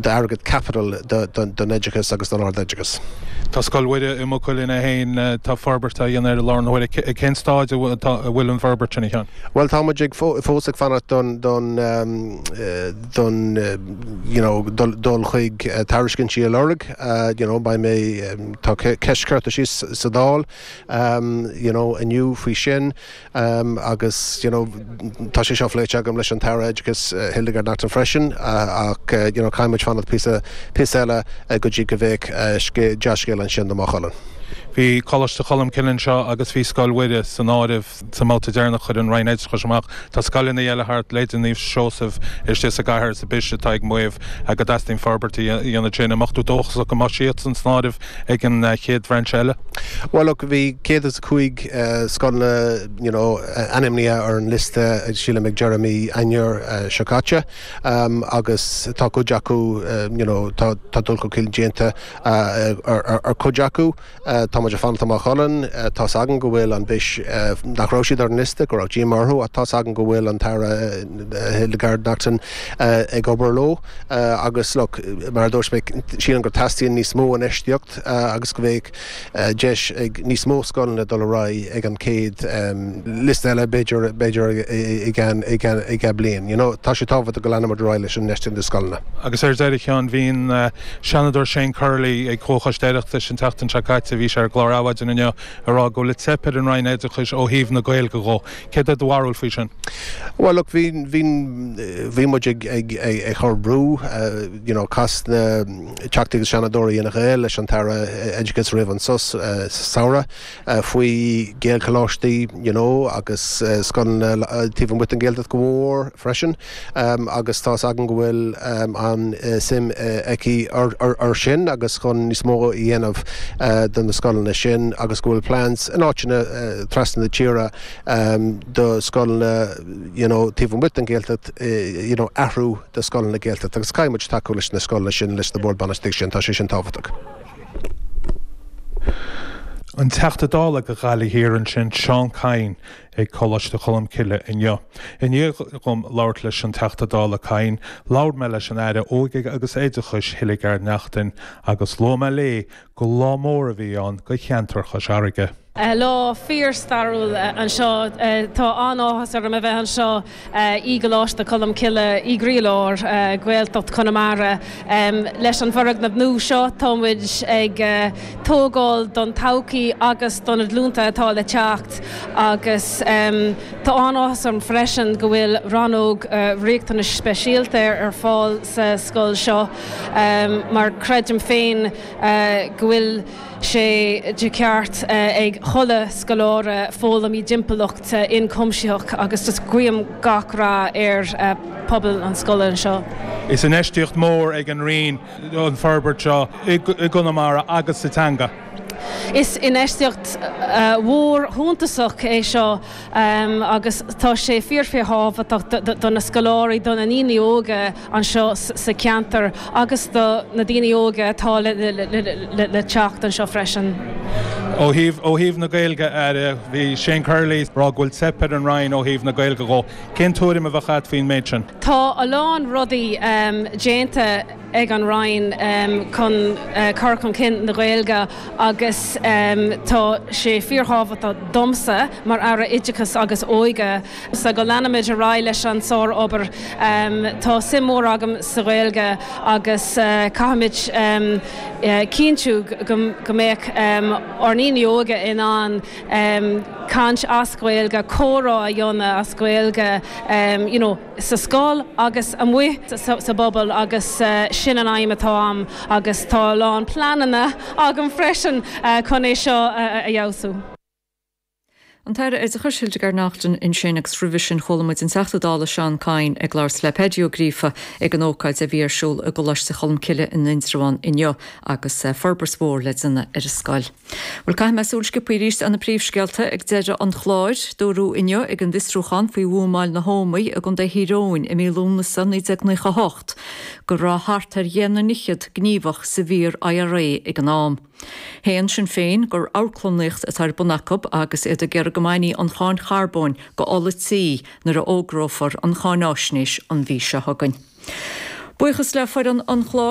D'airgead caipitil don oideachas agus don ardoideachas. Tá Scoil Mhuire i Maigh Cuilinn é féin, tá forbairt á dhéanamh air i láthair na huaire. Cén stáid a bhfuil an bhforbairt sin, a Sheáin? Bhuel, tá muid ag fós ag fanacht don don don you know dul chuig tairiscintí a lorg. You know beidh mé, tá ceist curtha síos sa Dáil you know inniu faoi sin. Agus you know tá sé seo pléite agam leis an tAire Oideachais Hildegarde Naughton freisin ach you know caithfidh muid fanacht píosa píosa eile go dtí go mbeidh dea-scéal ansin do Maigh Cuilinn. Bhí Coláiste Cholmcille anseo agus bhí Scoil Mhuire san áireamh sa mbabhta deireanach a chuir an Roinn Oideachais amach. Tá scoileanna eile thart, leithéidí Naomh Seosamh istigh sa gcathair sa bPise atá ag maíomh go dteastaíonn forbairt a dhéanamh ansin. An mbeadh tú dóchasach go mbeadh siadsan san áireamh ag an chéad bhrainse eile? Bhuel look, bhí 105 scoileanna you know ainmnithe ar an liosta sílim ag deireadh mí Eanáir seo caite agus tá cuid acu you know tá tá dul chun cinn déanta ar ar cuid acu. Tá muid ag fanacht do Maigh Cuilinn, tá's againn go bhfuil an bhis nach raibh siad ar an liosta, go raibh díomá orthu ach tá's againn go bhfuil an tAire Hildegarde Naughton ag obair leo. Agus look, mar a dúirt mé, sílim go teastaíonn níos mó infheistíocht agus go mbeadh deis ag níos mó scoileanna dul ar aghaidh ag an chéad liosta eile, b'fhéidir, b'fhéidir i gceann, i gceann, i gceann bliain. You know, tá sé tábhachtach go leanfaimid ar aghaidh leis an infheistíocht i scoileanna. Agus ar deireadh, a Sheáin, bhí an Seanadóir Shane Curley ag Comhchoiste Oireachtais an tseachtain seo caite, bhí sé ar an gclár Adhmhaidin inniu, ag rá go bhfuil ag teip ar an Roinn Oideachais ó thaobh na Gaeilge dhó. Céard é do bharúil faoi sin? Bhuel, look, bhí, bhí, bhí muid ag, ag, ag, ag cur brú, you know, chas na Teachtaí agus Seanadóirí Fhine Gael leis an tAire Oideachais roimh an sos sa samhradh faoi Gaelcholáistí, you know, agus scoileanna taobh amuigh den Ghaeltacht go mór freisin agus tá's againn go bhfuil an-suim aici ar sin agus chun níos mó a dhéanamh do na scoileanna sin agus go bhfuil plans in áiteanna trasna na tíre do scoileanna you know taobh amuigh den Ghaeltacht you know athrú do scoileanna Gaeltachta agus caithfidh muid tacú leis na scoileanna sin leis na boird bainistíochta sin, tá sé sin tábhachtach. An Teachta Dála do Ghaillimh Thiar ansin, Seán Kyne ag Coláiste Cholmcille inniu. I ndiaidh dhom labhairt leis an Teachta Dála Kyne, labhair mé leis an Aire Óige agus Oideachais Hildegarde Naughton agus luaigh mé léi gur lá mór a bhí ann do cheantar Chois Fharraige. Lá fíor-stairiúil anseo. Tá an-áthas orm a bheith anseo i gColáiste Cholmcille i gcroílár Ghaeltacht Chonamara. Leis an bhfoirgneamh nua seo tá muid ag tógáil don todhchaí agus do na glúnta atá le teacht agus tá an-áthas orm freisin go bhfuil rannóg riachtanais speisialta ar fáil sa scoil seo mar creidim féin go bhfuil sé de cheart ag chuile scoláire foghlaim i dtimpeallacht ionchuimsitheach agus just guím gach rath ar phobal an scoile anseo. Is infheistíocht mhór ag an Roinn an forbairt seo i gConamara agus sa teanga. Is infheistíocht mhór shuntasach é seo agus tá sé fíor-fhíorthábhachtach do na scoláirí, do na ndaoine óga anseo sa cheantar agus do na daoine óga atá le teacht anseo freisin. Ó thaobh, ó thaobh na Gaeilge, a Aire, bhí Shane Curley ag rá go bhfuil teip ar an Roinn ó thaobh na Gaeilge dhó. Cén tuairim a bheadh agat faoin méid sin? Tá a lán rudaí déanta ag an Roinn chun cur chun cinn na Gaeilge agus tá sé fíorthábhachtach domsa mar Aire Oideachais agus Óige go leanfaimid ar aghaidh leis an sár-obair. Tá suim mhór agam sa Ghaeilge agus caithfimid cinntiú go mbeadh ár ndaoine óga in ann caint as Gaeilge, comhrá a dhéanamh as Gaeilge you know sa scoil agus amuigh sa bpobal agus sin an aidhm atá agam agus tá a lán pleananna agam freisin chun é seo a fheabhsú. An tAire Oideachais Hildegarde Naughton ansin agus roimhe sin chuala muid an Teachta Dála Seán Kyne ag labhairt le Paddy Ó Gríofa ag an ócáid a bhí ar siúl i gColáiste Cholmcille in Indreabhán inniu agus forbairt mhór le déanamh ar an scoil. Bhuel, caithfidh mé súil sciobtha arís ar na príomhscéalta ag deireadh an chláir. Dúradh inniu ag an bhfiosrúchán faoi bhuamáil na hÓmaí i gContae Thír Eoghain i mí Lúnasa 1998 go raibh thart ar dheich ndaichead gníomhach sa bhfíor-IRA ag an am. Shéan Sinn Féin gur amharclannaíocht atá ar bun acu agus iad ag iarraidh go mbainfí an cháin charbóin go ola tí nuair a fhógrófar an cháináisnéis an mhí seo chugainn. Buíochas le foireann an chláir.